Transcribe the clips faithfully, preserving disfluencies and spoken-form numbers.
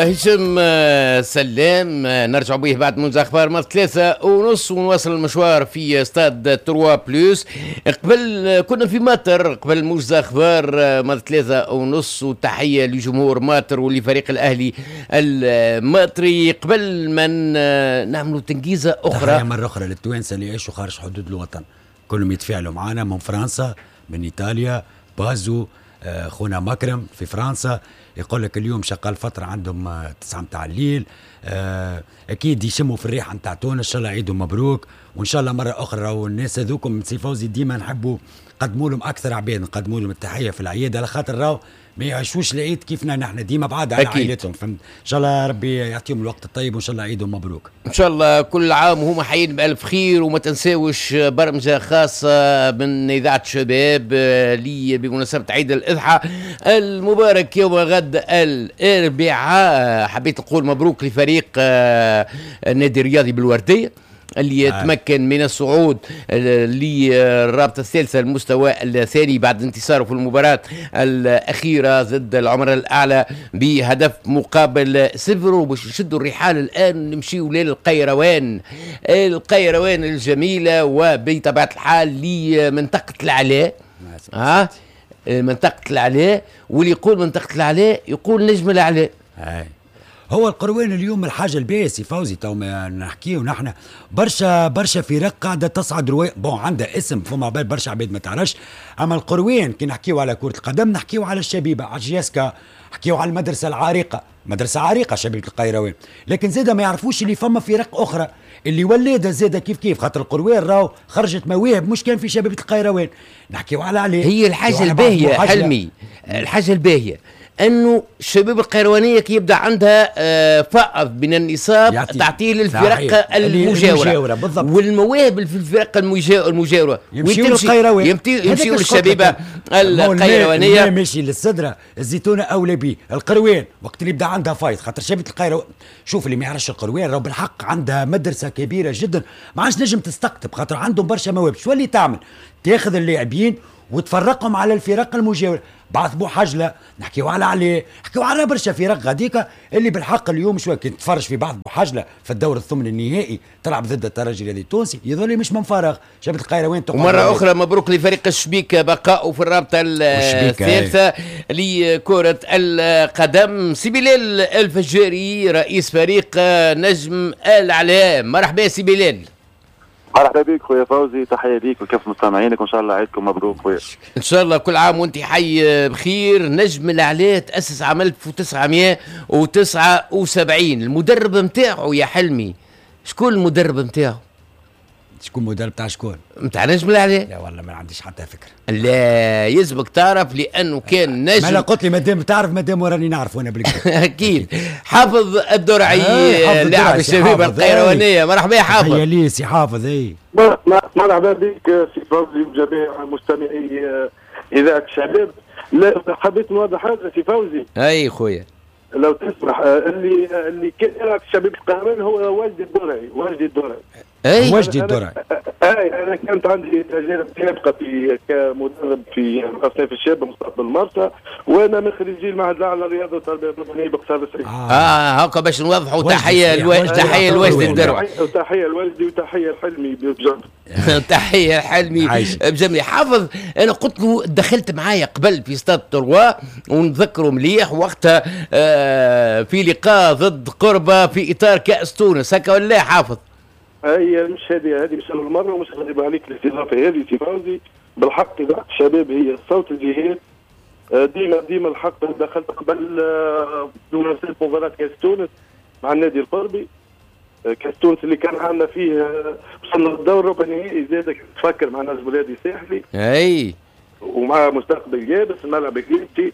هشام سلام نرجع به بعد منذ اخبار ما ثلاثة ونص ونواصل المشوار في stade trois plus. قبل كنا في ماطر قبل موجز اخبار ما ثلاثة ونص، وتحية لجمهور ماطر ولفريق الاهلي الماطري. قبل ما نعملوا تنجيزة اخرى، تحية مرة اخرى للتوانسة اللي يعيشوا خارج حدود الوطن، كلهم يتفاعلوا معنا من فرنسا، من ايطاليا، بازو، خونا مكرم في فرنسا يقول لك اليوم شغال فترة عندهم تسعة متاع الليل، اكيد يشموا في الريحة نتاع تونس. ان شاء الله عيدهم مبروك، وان شاء الله مرة اخرى راهو الناس هذوكم سي فوزي ديما نحبوا نقدموا لهم اكثر عباد، نقدموا لهم التحية في العياد، على خاطر راهو ما يعيشوش العيد كيفنا نحن، ديما بعاد على عائلتهم، فهمت؟ ان شاء الله ربي يعطيهم الوقت الطيب، وان شاء الله عيدهم مبروك. ان شاء الله كل عام وهم حيين بالف خير. وما تنساوش برمجة خاصة من اذاعة شباب لي بمناسبة عيد الاضحى المبارك يوم غد الاربعاء. حبيت نقول مبروك لفريق النادي الرياضي بالورديه اللي يتمكن من الصعود للرابطة الثالثة المستوى الثاني بعد انتصاره في المباراة الأخيرة ضد العمر الأعلى بهدف مقابل صفر. وباش نشدوا الرحال الآن نمشيو للقيروان، القيروان الجميلة، وبطبيعة الحال لمنطقة العلاء. ها منطقة العلاء، واللي يقول منطقة العلاء يقول نجم العلاء. هاي هو القروان اليوم الحاجة الباهيه سي فوزي، تو ما نحكيو نحن برشا برشا فرق قاعدة تصعد رواية، bon عندها اسم فما عباد برشا عباد ما تعرفش، اما القروان كي نحكيو على كره القدم نحكيو على الشبيبة، على JSK، نحكيو على المدرسة العريقه، مدرسه عريقة شبيبة القيروان، لكن زاده ما يعرفوش اللي فما فرق اخرى اللي ولادها زاده كيف كيف، خاطر القروان راهو خرجت مواهب مش كان في شبيبة القيروان، نحكيو على عليه. هي الحاجة الباهيه حلمي، الحاجة الباهيه انه الشباب القيروانيه كي يبدا عندها فائض من النصاب تعطيه للفرق المجاورة, المجاورة بالضبط، والمواهب في الفرق المجاورة يمشيو للقيروان، يمشيو للشبيبه القيروانيه. ماشي للسدره الزيتونه اولى بيه القروان وقت اللي يبدا عندها فايض، خاطر شبيبة القيروان شوف اللي ما يعرفش القروان راهو بالحق عندها مدرسه كبيرة جدا، ما عادش نجم تستقطب خاطر عندهم برشا مواهب. شو اللي تعمل؟ تاخذ اللاعبين وتفرقهم على الفرق المجاورة، بعث بوحجله، نحكيو على عليه، نحكيو على برشا فرق غاديكا اللي بالحق اليوم شوية كي تتفرج في بعض بوحجله في الدور الثمن النهائي تلعب ضد الترجي الرياضي التونسي، يظل مش من فراغ شبيبة القيروان. ومرة اخرى مبروك لفريق الشبيكه بقاؤه في الرابطة الثالثة لكرة القدم. سي بلال الفجاري رئيس فريق نجم العلاء، مرحبا سي بلال. مرحبا بك خويا فوزي، تحية ليك وكيف مستمعينك، وان شاء الله عيدكم مبروك خويا. ان شاء الله كل عام وانت حي بخير. نجم العلاء تاسس عام ألف وتسعمائة وتسعة وسبعين، المدرب نتاعو يا حلمي شكون المدرب نتاعو؟ شكون مدرب تاع شكون؟ نتاع نجم العلاء؟ لا والله ما عنديش حتى فكرة. لا يلزمك تعرف لانه كان نجم. ما لا قلت لي مادام تعرف مادام وراني نعرف وانا بالكدا. اكيد. حافظ الدرعي لاعب الشبيبة القيروانيه، مرحبا يا حافظ. يا لي سي حافظ. اي مرحبا بك سي فوزي وجميع مستمعي اذاعة الشباب. لا حبيت نوضح حاجة سي فوزي. اي خويا لو تسمح، اللي اللي كان يلعب في شبيبة القيروان هو وجدي الدرعي، وجدي الدرعي. اي وجدي الدرعي. اي انا كانت عندي تجارب سابقه في كمدرب في اصناف الشاب مستقبل المرسى، وانا من خريجي المعهد الاعلى للرياضة والتربية البدنية بقصر السعيد. اه, آه هكا باش نوضحوا. تحية الو... تحية لوجدي الدرعي، وتحية لوجدي وتحية لحلمي بجنبي. تحية لحلمي بجنبي. حافظ انا قلت له دخلت معايا قبل في stade trois ونذكره مليح وقتها آه في لقاء ضد قربه في اطار كاس تونس، هكا ولا حافظ؟ هي مش هذه هذه مش اول مرة ومش غريبة عليك الاستضافة هذه سي فوزي. بالحق اذاعة الشباب هي صوت الجهات، ديما ديما الحق دخلت قبل بمناسبة مباراة كاس تونس مع النادي القربي، كاس تونس اللي كان عندنا فيه وصلنا للدور ربع النهائي زاد تفكر مع نجم النادي الساحلي اي ومع مستقبل جابس الملعب الجيبتي.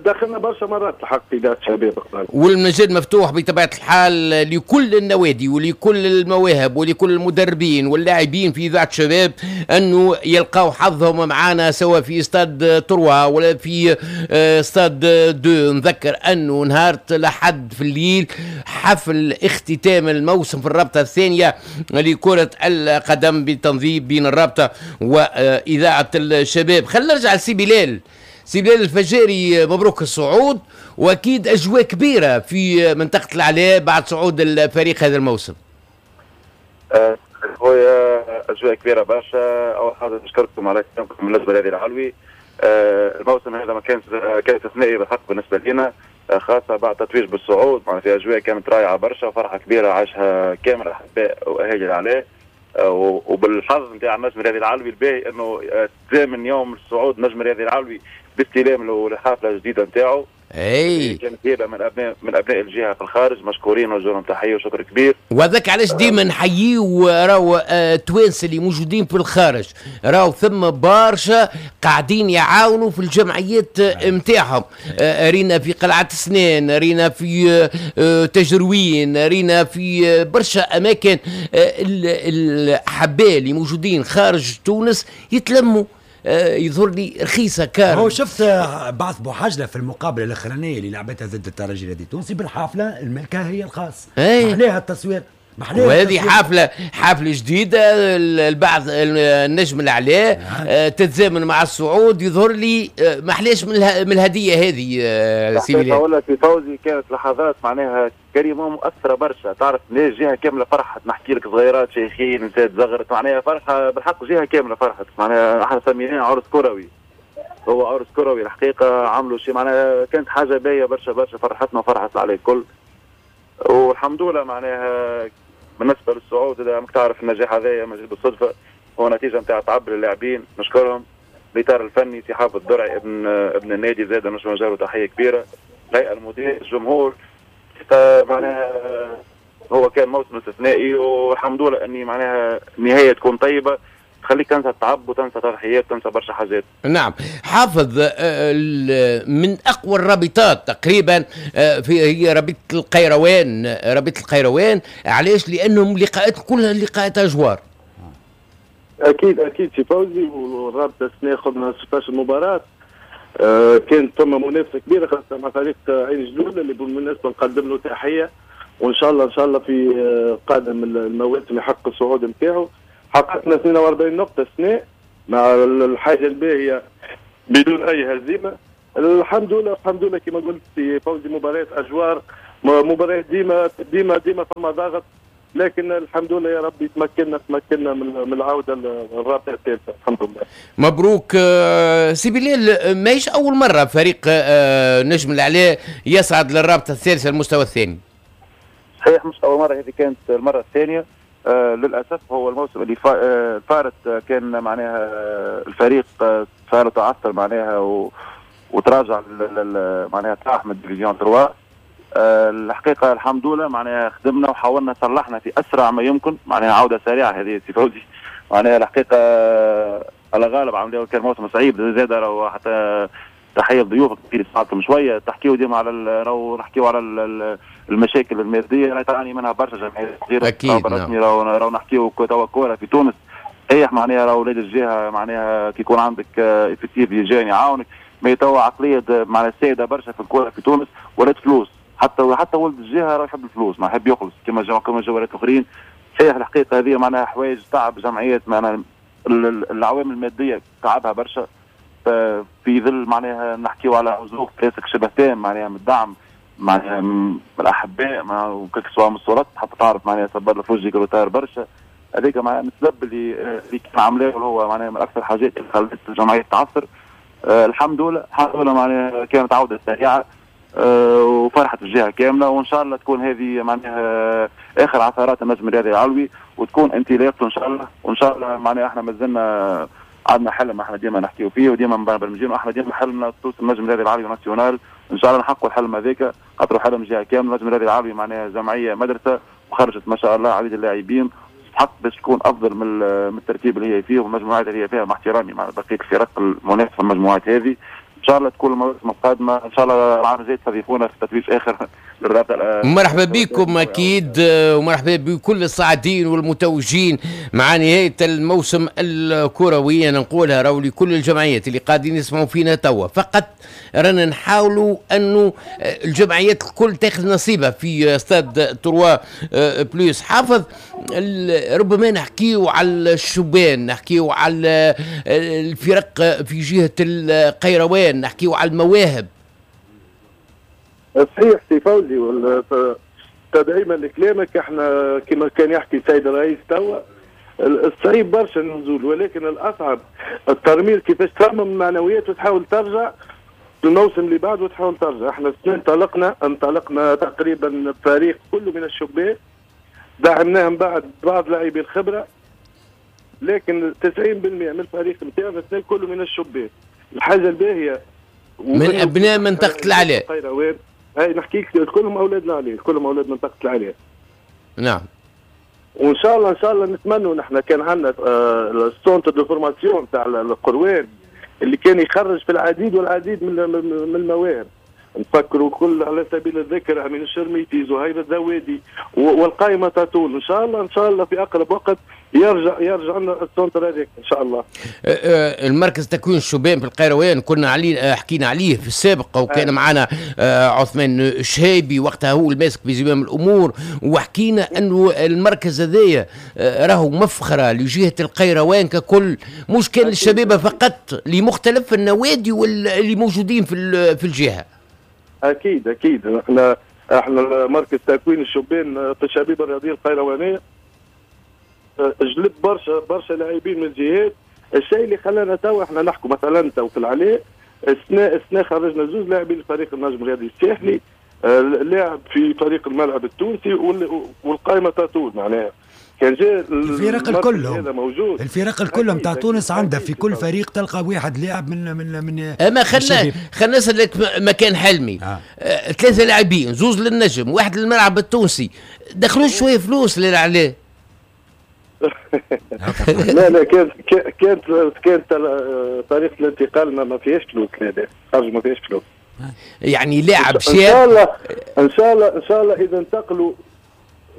دخلنا برشا مرات الحق اذاعة الشباب. والمجال مفتوح بطبيعة الحال لكل النوادي ولكل المواهب ولكل المدربين واللاعبين في اذاعة الشباب انه يلقاو حظهم معانا سواء في stade trois ولا في stade deux. نذكر انه نهار الاحد في الليل حفل اختتام الموسم في الرابطة الثانية لكرة القدم بتنظيم بين الرابطة واذاعة الشباب. خلينا نرجع لسي بلال. سي بلال الفجاري، مبروك الصعود، واكيد اجواء كبيرة في منطقة العلاء بعد صعود الفريق هذا الموسم. خويا اجواء كبيرة برشا. اول حاجة نشكركم على كلامكم بالنسبة لهذه العلوي. الموسم هذا ما كان كان استثنائي بالحق بالنسبة لنا، خاصة بعد تتويج بالصعود، معناها في اجواء كانت رائعة برشا وفرحه كبيرة عاشها كامل الاحباء واهالي العلاء. وبالحظ نتاع النجم الرياضي العلوي الباهي انه تزامن يوم الصعود نجم الرياضي العلوي باستلام للحافله الجديدة نتاعو. اي كانت هبه من ابناء من ابناء الجهة في الخارج، مشكورين وجه لهم تحية وشكر كبير. وهذاك علاش ديما نحييو راهو التوانسة اللي موجودين في الخارج، راهو ثم برشا قاعدين يعاونوا في الجمعيات نتاعهم. رينا في قلعه سنان، رينا في تجروين، رينا في برشا اماكن الاحباء اللي موجودين خارج تونس يتلموا. يظهر لي رخيصة كار. هو شفت بعث بوحجله في المقابلة الاخرانية اللي لعبتها ضد الترجي الرياضي التونسي بالحافله الملكة هي الخاص. محلاها التصوير، محلاها. وهذه حافلة حافلة جديدة البعث النجم العلاء تتزامن مع الصعود، يظهر لي محلاش من الهدية هذه. سي بلال ولا في فوزي كانت لحظات معناها كريمة مؤثرة برشا، تعرف ليش جهة كاملة فرحت، نحكي لك صغيرات شيخين نساء تزغرت، معناها فرحه بالحق جهة كاملة فرحت، معناها احنا سميناه عرس كروي، هو عرس كروي الحقيقة، عملوا شيء معناها كانت حاجة باهيه برشا برشا، فرحتنا وفرحت العلي الكل والحمد لله. معناها بالنسبة للصعود اذا ماك تعرف النجاح هذايا مش بالصدفة، هو نتيجة نتاع تعب للاعبين نشكرهم، الاطار الفني سي حافظ الدرعي ابن ابن النادي زاد نشكر له تحية كبيرة، الهيئة المدير، الجمهور، معناها هو كان موسم استثنائي والحمد لله اني معناها النهاية تكون طيبة تخليك تنسى التعب وتنسى تضحيات وتنسى برشا حاجات. نعم حافظ، من اقوى الرابطات تقريبا في هي رابطه القيروان، رابطه القيروان علاش؟ لانهم لقاءات كلها لقاءات اجوار. اكيد اكيد سي فوزي، والرابطه السنة خذنا ستة عشر مباراة، آه كانت ثم منافسه كبيرة خاصة مع فريق عين جلول اللي بالمناسبة نقدم له تحية، وان شاء الله ان شاء الله في قادم المواسم يحقق الصعود نتاعو. حققنا اثنين وأربعين نقطة السنة مع الحاجة الباهيه بدون اي هزيمة، الحمد لله الحمد لله. كما قلت في فوزي مباريات اجوار، مباريات ديما ديما ديما فما ضغط، لكن الحمد لله يا ربي تمكنا تمكنا من العودة للرابطة الثالثة الحمد لله. مبروك سي بلال، ماهيش اول مرة فريق نجم العلاء يصعد للرابطة الثالثة المستوى الثاني. صحيح مش اول مرة، هذه كانت المرة الثانية. آه للاسف هو الموسم اللي فارت كان معناها الفريق صار تعثر معناها و... وتراجع معناها طاح من division ثلاثة. أه الحقيقة الحمد لله معناها خدمنا وحاولنا صلحنا في اسرع ما يمكن، معناها عوده سريعة هذه سي فوزي، معناها الحقيقة على غالب عملوا كان موسم صعيب زاد، راهو حتى تحية لضيوفك كثير ساعدتهم شوية تحكيوا ديما على راهو نحكيوا على المشاكل المادية راهي تعاني منها برشا جمعيات صغيرة. اكيد نعم. راهو راهو نحكيوا توا كورة في تونس صحيح، معناها راهو ولاد الجهة معناها كي يكون عندك effectif يجي يعاونك، mais توا عقلية معناها السائدة برشا في الكورة في تونس ولات فلوس، حتى حتى ولد الجهة راه يحب الفلوس، ما يحب يخلص كما كما الجوارات الاخرين. صحيح الحقيقة هذه معناها حوايج تعب جمعيات، معناها العوامل المادية تعبها برشا في ظل معناها نحكيو على عزوف presque شبه تام معناها من الدعم معناها من الاحباء معناها سواء من السلطات حتى تعرف معناها صبر الفوجي كروتار برشا، هذيك معناها السبب اللي اللي كان عاملاه هو معناها من اكثر الحاجات اللي خلت الجمعية تعثر. أه الحمد لله الحمد لله معناها كانت عوده سريعة أه وفرحت الجهة كاملة، وان شاء الله تكون هذه معناها اخر عثرات النجم الرياضي العلوي وتكون انطلاقته ان شاء الله. وان شاء الله معناها احنا مازلنا عندنا حلم احنا ديما نحكيو فيه وديما مبرمجين، واحنا ديما حلمنا توصل النجم الرياضي العلوي national، ان شاء الله نحققوا الحلم هذاك، خاطر حلم جهة كاملة. النجم الرياضي العلوي معناها جمعية مدرسه وخرجت ما شاء الله عديد اللاعبين، تستحق باش تكون افضل من الترتيب اللي هي فيه والمجموعات اللي هي فيها، مع احترامي مع بقية الفرق المنافسة في المجموعات هذه. ان شاء الله تكون المواسم القادمة ان شاء الله العام الجاي تستضيفونا في تتويج اخر للرابطة. مرحبا بكم اكيد، ومرحبا بكل الصاعدين والمتوجين مع نهاية الموسم الكروي. أنا نقولها راهو لكل الجمعيات اللي قاعدين يسمعوا فينا توا، فقط رانا نحاولوا أنه الجمعيات الكل تاخذ نصيبها في stade trois plus. حافظ، ربما نحكيو على الشبان، نحكيو على الفرق في جهة القيروان، نحكيو على المواهب. صحيح سي فوزي، تدعيما لكلامك، احنا كما كان يحكي السيد الرئيس توا الصعيب برشا النزول، ولكن الاصعب الترميز، كيفاش ترمم المعنويات وتحاول ترجع الموسم اللي بعده وتحاول ترجع. احنا السنة انطلقنا انطلقنا تقريبا فريق كله من الشبان، دعمناهم بعد بعض لاعبي الخبرة، لكن تسعين بالمئة من الفريق نتاعنا السنة كله من الشبان. الحاجة الباهيه من ابناء منطقة العلاء. هاي نحكي لك كلهم اولاد العلاء، كلهم اولاد منطقة العلاء. نعم. وان شاء الله ان شاء الله نتمنوا نحن كان عندنا ال centre de formation تاع القروان اللي كان يخرج في العديد والعديد من من المواهب. نفكروا كل على سبيل الذكر امين الشرميتي، زهير الزوادي، والقائمه تطول. ان شاء الله ان شاء الله في اقرب وقت يرجع يرجع لنا ال centre هذاك ان شاء الله. المركز تكوين الشبان في القيروان كنا عليه، حكينا عليه في السابق، وكان أه. معنا عثمان الشهابي وقتها هو الماسك بزمام الامور، وحكينا انه المركز هذايا راهو مفخرة لجهة القيروان ككل، مش كان للشباب فقط، لمختلف النوادي واللي موجودين في في الجهة. اكيد اكيد احنا احنا مركز تكوين الشبان في الشبيبة الرياضية القيروانيه جلب برشا برشا لاعبين من الجهات، الشيء اللي خلانا توا احنا نحكوا مثلا تو في العلاء السنة السنة خرجنا زوج لاعبين لفريق النجم الرياضي الساحلي، لاعب في فريق الملعب التونسي، والقائمه تطول معناها. كان جاء الفرق الكل موجود، الفرق الكل نتاع تونس عندها في كل فريق تلقى واحد لاعب من من من اما خلنا خلينا نسالك مكان حلمي. آه. آه، ثلاثة لاعبين، زوز للنجم، واحد للملعب التونسي، دخلوا شوية فلوس للعلاء. لا لا كانت كانت كانت طريقه الانتقال ما فيهاش فلوس، لا خرج ما فيهاش فلوس. يعني لاعب شاب ان شاء الله ان شاء الله ان شاء الله اذا انتقلوا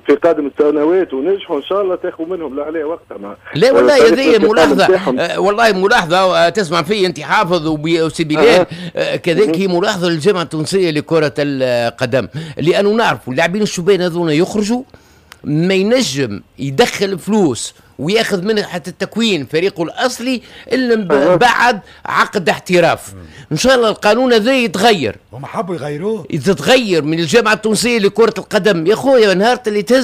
في قادم السنوات ونجحوا ان شاء الله تاخذوا منهم لا عليه وقتها. ما لا والله هذه ملاحظة، آه والله ملاحظة، آه تسمع في انت حافظ وسي بلال، آه كذلك هي ملاحظة للجامعة التونسية لكرة القدم، لانه نعرفوا اللاعبين الشبان هذونا يخرجوا ما ينجم يدخل فلوس وياخذ منها حتى التكوين فريقه الاصلي الا بعد عقد احتراف. ان شاء الله القانون هذا يتغير. هم حبوا يغيروه، يتغير من الجامعة التونسية لكرة القدم. يا خويا نهار اللي تهز